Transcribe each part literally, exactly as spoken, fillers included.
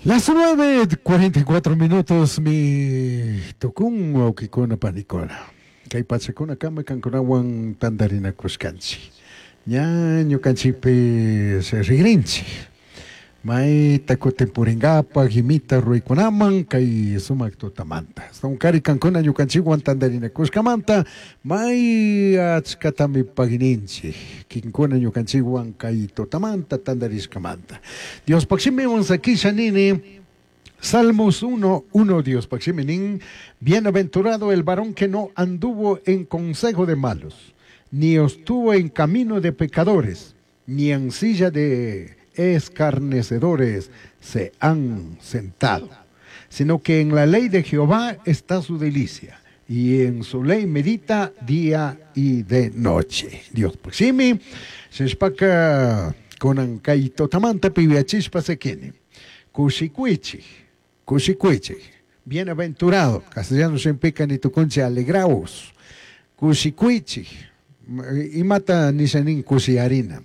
Las nueve cuarenta y cuatro minutos mi tukun wawkikuna panikuna. Kay pachakuna kama kankunawan tantarinakushkanchik. Ña ñukanchikpi rigrinchik. Mayta kutin puringapaj imita ruraykunaman kay sumak tutamanta. Kari kankuna ñukanchikwan tantarinakushkamanta may achkatami pagininchik. Kinkuna ñukanchikwan kay tutamanta tantarishkamanta. Diospaj shimiwan sakisha nini. Salmos uno, uno, Dios nin, bienaventurado el varón que no anduvo en consejo de malos, ni estuvo en camino de pecadores, ni en silla de escarnecedores se han sentado, sino que en la ley de Jehová está su delicia, y en su ley medita día y de noche. Dios paximi, seshpaka kunan kay tutamanta piviachishpa sekini. Kushikuichi, kushikuichi, bienaventurado, castellano shimpica ni tukunchi alegraos. Kushikuichi, imata nishanin kushiarina,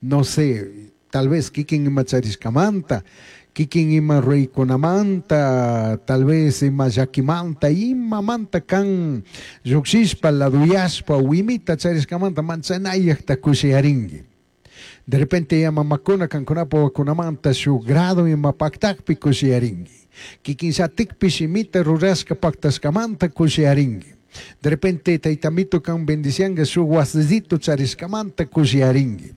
no sé, tal vez kikin ima charishkamanta, kikin ima ruykunamanta, tal vez ima llakimanta, imamanta kan llukshishpa, laduyashpa, wimita charishkamanta, manchanayakta kushiarinki. De repente ya mamakuna kankunapa wakunamanta shuk grado ima paktakpi kushiarinki. Kikin shatikpi shimita rurashka paktashkamanta kushiarinki. De repente taytamito kan bendicianga shuk wasizito charishkamanta kushiarinki.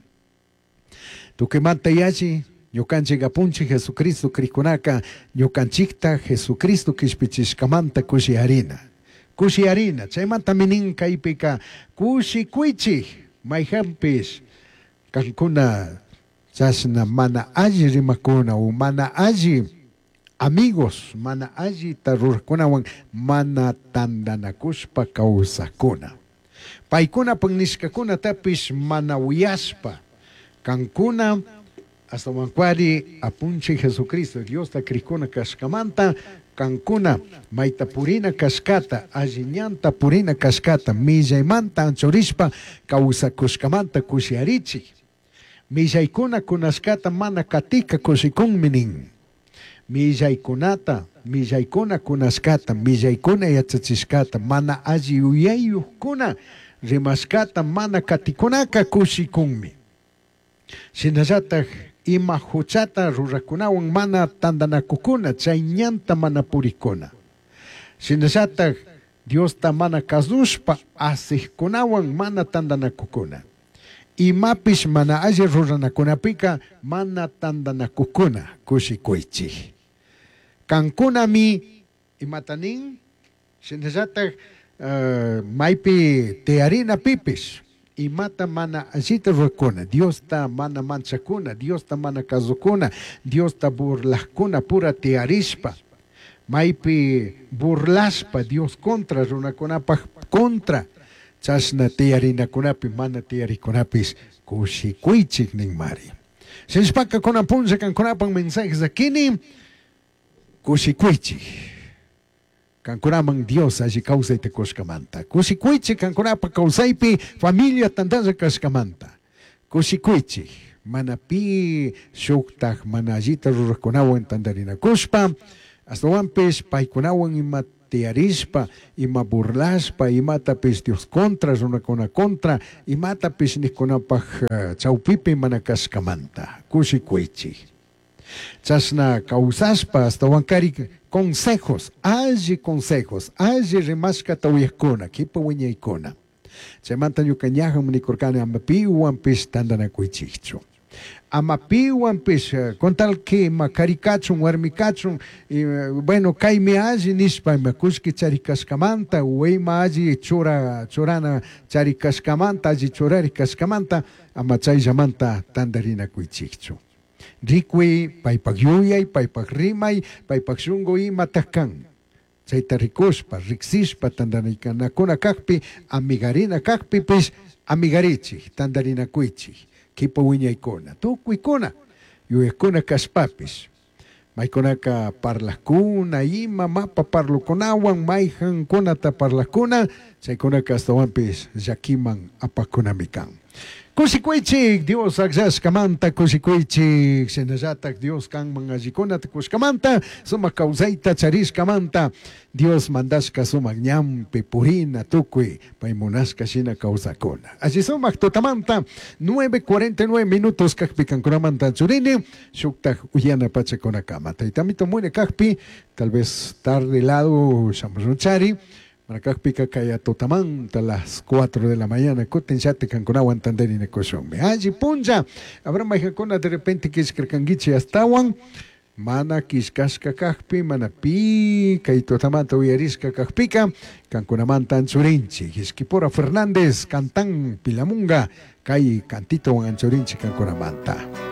Tukimanta yachi ñukanchik apunchik Jesucristo krikunaka ñukanchikta Jesucristo kishpichishkamanta kushiarina. Kushiarina, chaymanta minin kaypika kushikuychik mayhanpish kankuna chashna mana alli rimakuna o mana alli amigos, mana allita rurajkunawan mana tantanakushpa kawsakuna. Paykunapak nishkakunatapish mana uyashpa kankuna astawankuari apunchik Jesucristo Diosta krikuna kashkamanta kankuna mayta purina kashkata alli ñanta purina kashkata millaymanta anchurishpa kawsakushkamanta kushiarichik. Millaykuna kunashkata mana katika kushikunmi nin. Millaykunata, millaykuna kunashkata, millaykuna yachachishkata, mana alli yuyayuqkuna rimashkata mana katikunaka kushikunmi. Shinallatak ima huchata rurakunawan mana tantanakukuna, chay ñanta mana purikuna. Shinallatak Diosta mana kasushpa asijkunawan mana tantanakukuna. Imapish mana alli ruranakunapika mana tantanakukuna kushikuychik. Kankunami imata nin, shinallatak uh, maypi tiyarina pipish imata mana allita rurakuna, Diosta mana manchakuna, Diosta mana kasukuna, Diosta burlajkuna pura tiyarishpa, maypi burlashpa Dios contra runakunapaj contra, chashna tiyarinakunapi mana tiyarikunapis kushikuychik ninmari. Shinshpaka kunan punlla kankunapak mensajes akini kushikuychik. Kankunaman Dios alli kawsayta kushkamanta. Kushikuychik kankunapa kawsaypi familia tantalla kashkamanta. Kushikuychik. Mana pi shuktaj mana allita rurajkunawan tantarinakushpa, astawanpish paykunawan ima tiyarishpa, ima burlashpa, imatapish Dios contra, runakuna contra, imatapish nijkunapaj uh, chawpipi mana kashkamanta. Kushikuychik. Chashna kawsashpa astawankari consejos, alli consejos, alli rimashkata uyajkuna, kipa wiñaykuna. Chaymanta ñuka ñajan nikurkani ama piwanpish tantanakuychikchu. Ama piwanpish, con tal que ima kari kachun, warmi kachun, y, bueno, kaymi alli nishpa ima kullki charikashkamanta, o ima alli chura, churana charikashkamanta, alli churarikashkamanta, ama chayllamanta tantarinakuychikchu. Rikuy, paypak yuyay, paypak rimay, paypak shunku imataj kan. Chayta rikushpa, riksishpa, tantarikanakuna kakpi, amigarina kakpipish, amigarichik, tantarinakuychik, kipa wiñaykuna, tukuykuna, yuyakkuna kashpapish. Maykunaka parlajkuna, ima mapa parlukunawan, mayjankunata parlajkuna, chaykunaka astawanpish llakiman apakunami kan. Kushikuychik Dios akllashkamanta kushikuychik shinallatak Dios kanman allikunata kushkamanta sumak kawsayta charishkamanta Dios mandashka sumak ñanpi purina tukuy pay munashka shina kawsakuna. Alli sumak tutamanta nueve cuarenta y nueve minutos kakpi kankunamanta churini shuktak uyana pachakunakama. Taytamito mune kakpi tal vez tarde lado shamushunchari. Manakakpika kaya tutamanta las cuatro de la mañana kutin llati kankunawan tantarinakushunmi. Alli punlla habrá mayqankuna de repente kishkarkankichik astawan mana kishkashka kakpi mana pi kay tutamanta uyarishka kakpika kankunamanta anchurinchik. Ishkipura Fernández cantan Pilamunga kay cantitowan anchurinchik kankunamanta.